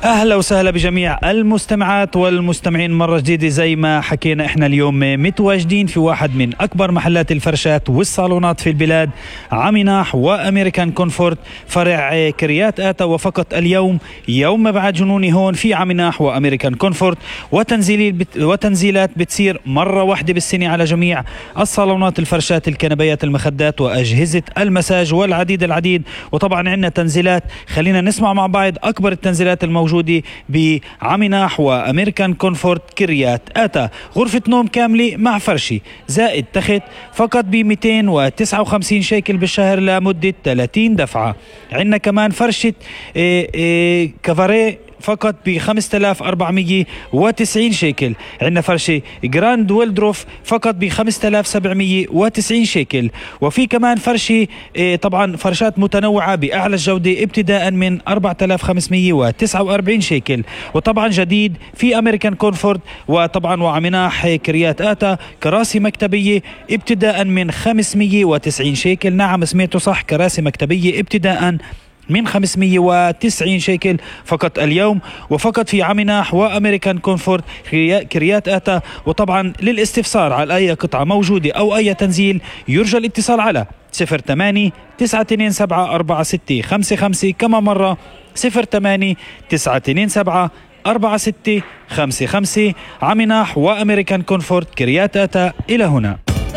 أهلا وسهلا بجميع المستمعات والمستمعين مرة جديدة. زي ما حكينا احنا اليوم متواجدين في واحد من أكبر محلات الفرشات والصالونات في البلاد، عميناح وأمريكان كونفورت فرع كريات آتا. وفقط اليوم يوم مبعد جنوني هون في عميناح وأمريكان كونفورت، وتنزيلات بتصير مرة واحدة بالسنة على جميع الصالونات، الفرشات، الكنبيات، المخدات وأجهزة المساج والعديد. وطبعا عندنا تنزيلات، خلينا نسمع مع بعض أكبر التنزيلات الموجودة بعميناح وأمريكان كونفورت كريات آتا. غرفة نوم كاملة مع فرشي زائد تخت فقط ب 259 شيكل بالشهر لمدة 30 دفعة. عندنا كمان فرشة كافاري فقط ب 5490 شيكل. عندنا فرشة جراند ويلدروف فقط ب 5790 شيكل. وفي كمان فرشة طبعا فرشات متنوعة بأعلى الجودة ابتداء من 4549 شيكل. وطبعا جديد في أمريكان كونفورت وطبعا وعميناح كريات آتا كراسي مكتبية ابتداء من 590 شيكل. نعم سمعتوا صح، كراسي مكتبية ابتداء من 590 شيكل فقط اليوم، وفقط في عميناح وأمريكان كونفورت كريات آتا. وطبعا للاستفسار على أي قطعة موجودة أو أي تنزيل يرجى الاتصال على 08-927-4655. كما مرة 08-927-4655. عميناح وأمريكان كونفورت كريات آتا. إلى هنا.